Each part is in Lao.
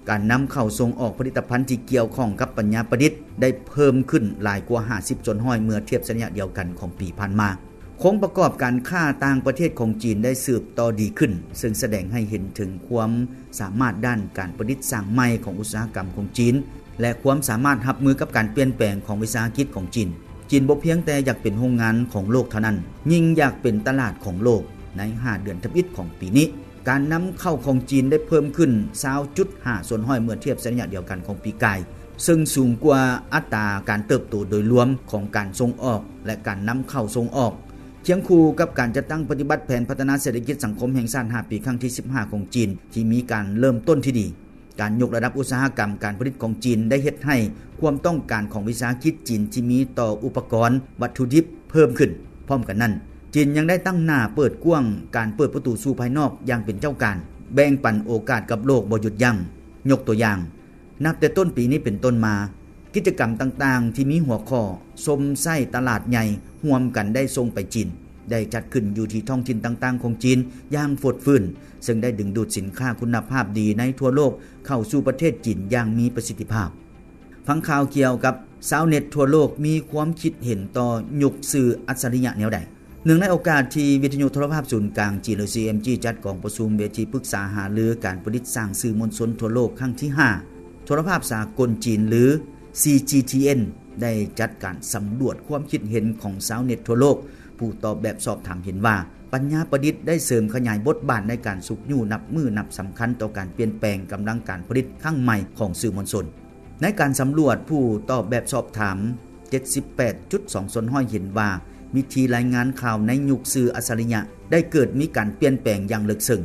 ການນຳເຂົ້າ-ສົ່ງອອກຜະລິດຕະພັນທີ່ກ່ຽວຂ້ອງກັບປັນຍາປະດິດ ໄດ້ເພີ່ມຂຶ້ນຫຼາຍກວ່າຫ້າສິບສ່ວນຮ້ອຍ ເມື່ອທຽບໃສ່ໄລຍະດຽວກັນຂອງປີຜ່ານມາ. ໂຄງປະກອບການຄ້າຕ່າງປະເທດຂອງຈີນໄດ້ສືບຕໍ່ດີຂຶ້ນ, ເຊິ່ງສະແດງໃຫ້ເຫັນເຖິງຄວາມສາມາດດ້ານການປະດິດສ້າງໃໝ່ຂອງອຸດສາຫະກຳຂອງຈີນ ແລະ ຄວາມສາມາດຮັບມືກັບການປ່ຽນແປງຂອງວິສາຫະກິດຂອງຈີນ. ຈີນບໍ່ພຽງແຕ່ຢາກເປັນໂຮງງານຂອງໂລກເທົ່ານັ້ນ, ຍິ່ງຢາກເປັນຕະຫຼາດຂອງໂລກໃນຫ້າເດືອນທຳອິດຂອງປີນີ້. ການນຳເຂົ້າຂອງຈີນໄດ້ເພີ່ມຂຶ້ນຊາວຈຸດຫ້າສ່ວນຮ້ອຍ ເມື່ອທຽບໃສ່ໄລຍະດຽວກັນຂອງປີກາຍ, ເຊິ່ງສູງກວ່າອັດຕາການເຕີບໂຕໂດຍລວມຂອງການສົ່ງອອກ ແລະ ການນຳເຂົ້າ-ສົ່ງອອກ. ຄຽງຄູ່ກັບການຈັດຕັ້ງປະຕິບັດແຜນພັດທະນາເສດຖະກິດສັງຄົມແຫ່ງຊາດຫ້າປີ ຄັ້ງທີສິບຫ້າຂອງຈີນ ທີ່ມີການເລີ່ມຕົ້ນທີ່ດີ, ການຍົກລະດັບອຸດສາຫະກຳການຜະລິດຂອງຈີນໄດ້ເຮັດໃຫ້ຄວາມຕ້ອງການຂອງວິສາຫະກິດຈີນທີ່ມີຕໍ່ອຸປະກອນວັດຖຸດິບເພີ່ມຂຶ້ນ. ພ້ອມກັນນັ້ນ, ຈີນຍັງໄດ້ຕັ້ງໜ້າເປີດກວ້າງການເປີດປະຕູສູ່ພາຍນອກຢ່າງເປັນເຈົ້າການ, ແບ່ງປັນໂອກາດກັບໂລກບໍ່ຢຸດຢັ້ງ. ຍົກຕົວຢ່າງ, ນັບແຕ່ຕົ້ນປີນີ້ເປັນຕົ້ນມາ, ກິດຈະກຳຕ່າງໆທີ່ມີຫົວຂໍ້ຊົມໃຊ້ຕະຫຼາດໃຫຍ່ຮ່ວມກັນໄດ້ສົ່ງໄປຈີນ ໄດ້ຈັດຂຶ້ນຢູ່ທີ່ທ້ອງຖິ່ນຕ່າງໆຂອງຈີນຢ່າງຟົດຟື້ນ, ເຊິ່ງໄດ້ດຶງດູດສິນຄ້າຄຸນນະພາບດີໃນທົ່ວໂລກເຂົ້າສູ່ປະເທດຈີນຢ່າງມີປະສິດທິພາບ. ຟັງຂ່າວກ່ຽວກັບຊາວເນັດທົ່ວໂລກມີຄວາມຄິດເຫັນຕໍ່ຍຸກສື່ອັດສະລິຍະແນວໃດ? ເນື່ອງໃນໂອກາດທີ່ວິທະຍຸໂທລະພາບສູນກາງຈີນ ຫຼື ຊີເອັມຈີ ຈັດກອງປະຊຸມເວທີປຶກສາຫາລືການປະດິດສ້າງສື່ມວນຊົນທົ່ວໂລກຄັ້ງທີຫ້າ, ໂທລະພາບສາກົນຈີນ ຫຼື ຊີຈີທີເອັນ ໄດ້ຈັດການສຳຫຼວດຄວາມຄິດເຫັນຂອງຊາວເນັດທົ່ວໂລກ. ຜູ້ຕອບແບບສອບຖາມເຫັນວ່າ ປັນຍາປະດິດໄດ້ເສີມຂະຫຍາຍບົດບາດໃນການຊຸກຍູ້ນັບມື້ນັບສຳຄັນຕໍ່ການປ່ຽນແປງກຳລັງການຜະລິດຄັ້ງໃໝ່ຂອງສື່ມວນຊົນ. ໃນການສຳຫຼວດ, ຜູ້ຕອບແບບສອບຖາມເຈັດສິບແປດຈຸດສອງສ່ວນຮ້ອຍເຫັນວ່າ ວິທີລາຍງານຂ່າວໃນຍຸກສື່ອັດສະລິຍະໄດ້ເກີດມີການປ່ຽນແປງຢ່າງເລິກເຊິ່ງ.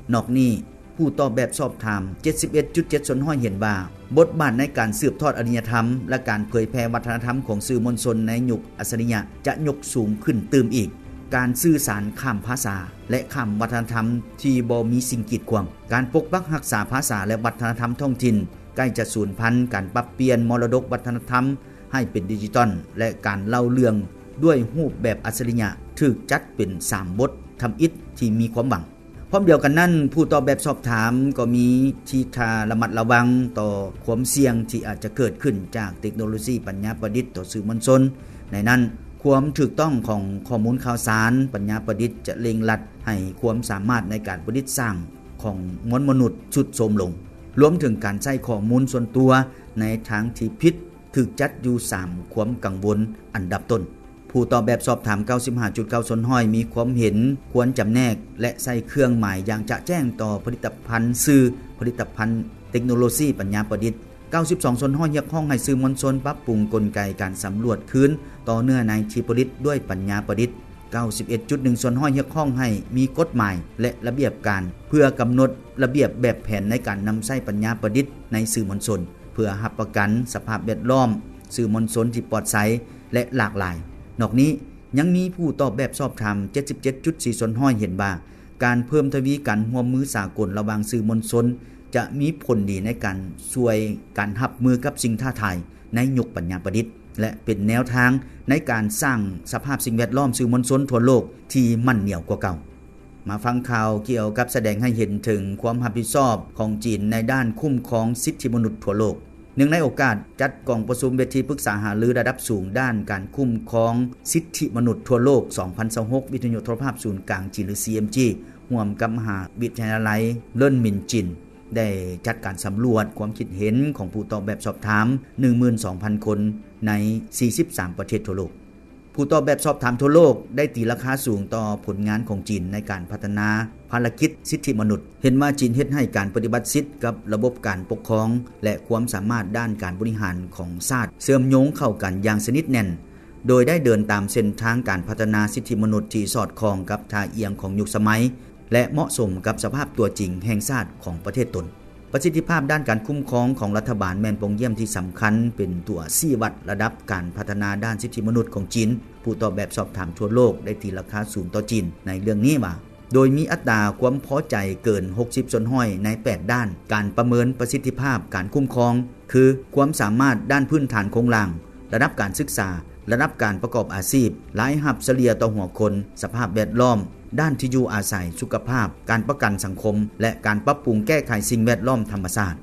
ນອກນີ້, ຜູ້ຕອບແບບສອບຖາມເຈັດສິບເອັດຈຸດເຈັດສ່ວນຮ້ອຍເຫັນວ່າ ບົດບາດໃນການສືບທອດອະລິຍະທຳ ແລະ ການເຜີຍແຜ່ວັດທະນະທຳຂອງສື່ມວນຊົນໃນຍຸກອັດສະລິຍະຈະຍົກສູງຂຶ້ນຕື່ມອີກ. ການສື່ສານຂ້າມພາສາ ແລະ ຂ້າມວັດທະນະທຳທີ່ບໍ່ມີສິ່ງກີດຂວາງ, ການປົກປັກຮັກສາພາສາ ແລະ ວັດທະນະທຳທ້ອງຖິ່ນໃກ້ຈະສູນພັນ, ການປັບປ່ຽນມໍລະດົກວັດທະນະທຳໃຫ້ເປັນດິຈິຕອນ ແລະ ການເລົ່າເລື່ອງດ້ວຍຮູບແບບອັດສະລິຍະ ຖືກຈັດເປັນສາມບົດທຳອິດທີ່ມີຄວາມຫວັງ. ພ້ອມດຽວກັນນັ້ນ, ຜູ້ຕອບແບບສອບຖາມກໍມີທີທ່າລະມັດລະວັງຕໍ່ຄວາມສ່ຽງທີ່ອາດຈະເກີດຂຶ້ນຈາກເຕັກໂນໂລຊີປັນຍາປະດິດຕໍ່ສື່ມວນຊົນ. ໃນນັ້ນ, ຄວາມຖືກຕ້ອງຂອງຂໍ້ມູນຂ່າວສານປັນຍາປະດິດຈະເລັ່ງລັດໃຫ້ຄວາມສາມາດໃນການປະດິດສ້າງຂອງມວນມະນຸດຊຸດໂຊມລົງ, ລວມເຖິງການໃຊ້ຂໍ້ມູນສ່ວນຕົວໃນທາງທີ່ຜິດ ຖືກຈັດຢູ່ສາມຄວາມກັງວົນອັນດັບຕົ້ນ. ຜູ້ຕອບແບບສອບຖາມເກົ້າສິບຫ້າຈຸດເກົ້າສ່ວນຮ້ອຍມີຄວາມເຫັນຄວນຈຳແນກ ແລະ ໃຊ້ເຄື່ອງໝາຍຢ່າງຈະແຈ້ງຕໍ່ຜະລິດຕະພັນສື່, ຜະລິດຕະພັນເຕັກໂນໂລຊີປັນຍາປະດິດ. ເກົ້າສິບສອງສ່ວນຮ້ອຍຮຽກຮ້ອງໃຫ້ສື່ມວນຊົນປັບປຸງກົນໄກການສຳຫຼວດຄືນຕໍ່ເນື້ອໃນທີ່ຜະລິດດ້ວຍປັນຍາປະດິດ. ເກົ້າສິບເອັດຈຸດໜຶ່ງສ່ວນຮ້ອຍຮຽກຮ້ອງໃຫ້ມີກົດໝາຍ ແລະ ລະບຽບການ ເພື່ອກຳນົດລະບຽບແບບແຜນໃນການນຳໃຊ້ປັນຍາປະດິດໃນສື່ມວນຊົນ ເພື່ອຮັບປະກັນສະພາບແວດລ້ອມສື່ມວນຊົນທີ່ປອດໃສ ແລະ ຫຼາກຫຼາຍ. ນອກນີ້, ຍັງມີຜູ້ຕອບແບບສອບຖາມເຈັດສິບເຈັດຈຸດສີ່ສ່ວນຮ້ອຍເຫັນວ່າ ການເພີ່ມທະວີການຮ່ວມມືສາກົນລະຫວ່າງສື່ມວນຊົນ ຈະມີຜົນດີໃນການຊ່ວຍການຮັບມືກັບສິ່ງທ້າທາຍໃນຍຸກປັນຍາປະດິດ ແລະ ເປັນແນວທາງໃນການສ້າງສະພາບສິ່ງແວດລ້ອມສື່ມວນຊົນທົ່ວໂລກທີ່ໝັ້ນໜຽວກວ່າເກົ່າ. ມາຟັງຂ່າວກ່ຽວກັບສະແດງໃຫ້ເຫັນເຖິງຄວາມຮັບຜິດຊອບຂອງຈີນໃນດ້ານຄຸ້ມຄອງສິດທິມະນຸດທົ່ວໂລກ. ເນື່ອງໃນໂອກາດຈັດກອງປະຊຸມເວທີປຶກສາຫາລືລະດັບສູງດ້ານການຄຸ້ມຄອງສິດທິມະນຸດທົ່ວໂລກ ສອງພັນຊາວຫົກ ວິທະຍຸໂທລະພາບສູນກາງຈີນ ຫຼື ຊີເອັມຈີ ຮ່ວມກັບມະຫາວິທະຍາໄລເລີນມິນຈີນ ໄດ້ຈັດການສຳຫຼວດຄວາມຄິດເຫັນຂອງຜູ້ຕອບແບບສອບຖາມ ໜຶ່ງໝື່ນສອງພັນຄົນ ໃນສີ່ສິບສາມປະເທດທົ່ວໂລກ. ຜູ້ຕອບແບບສອບຖາມທົ່ວໂລກໄດ້ຕີລາຄາສູງຕໍ່ຜົນງານຂອງຈີນໃນການພັດທະນາພາລະກິດສິດທິມະນຸດ, ເຫັນວ່າຈີນເຮັດໃຫ້ການປະຕິບັດສິດກັບລະບົບການປົກຄອງ ແລະ ຄວາມສາມາດດ້ານການບໍລິຫານຂອງຊາດເຊື່ອມໂຍງເຂົ້າກັນຢ່າງສະໜິດແໜ້ນ, ໂດຍໄດ້ເດີນຕາມເສັ້ນທາງການພັດທະນາສິດທິມະນຸດທີ່ສອດຄ່ອງກັບທ່າອ່ຽງຂອງຍຸກສະໄໝ ແລະ ເໝາະສົມກັບສະພາບຕົວຈິງແຫ່ງຊາດຂອງປະເທດຕົນ. ປະສິດທິພາບດ້ານການຄຸ້ມຄອງຂອງລັດຖະບານແມ່ນປ່ອງຢ້ຽມທີ່ສຳຄັນເປັນຕົວຊີ້ວັດລະດັບການພັດທະນາດ້ານສິດທິມະນຸດຂອງຈີນ. ຜູ້ຕອບແບບສອບຖາມທົ່ວໂລກໄດ້ຕີລາຄາສູງຕໍ່ຈີນໃນເລື່ອງນີ້ວ່າ ໂດຍມີອັດຕາຄວາມພໍໃຈເກີນຫົກສິບສ່ວນຮ້ອຍໃນແປດດ້ານການປະເມີນປະສິດທິພາບການຄຸ້ມຄອງ ຄື ຄວາມສາມາດດ້ານພື້ນຖານໂຄງລ່າງ, ລະດັບການສຶກສາ, ລະດັບການປະກອບອາຊີບ, ລາຍຮັບສະເລ່ຍຕໍ່ຫົວຄົນ, ສະພາບແວດລ້ອມ, ດ້ານທີ່ຢູ່ອາໄສ, ສຸຂະພາບ, ການປະກັນສັງຄົມ ແລະ ການປັບປຸງແກ້ໄຂສິ່ງແວດລ້ອມທຳມະຊາດ.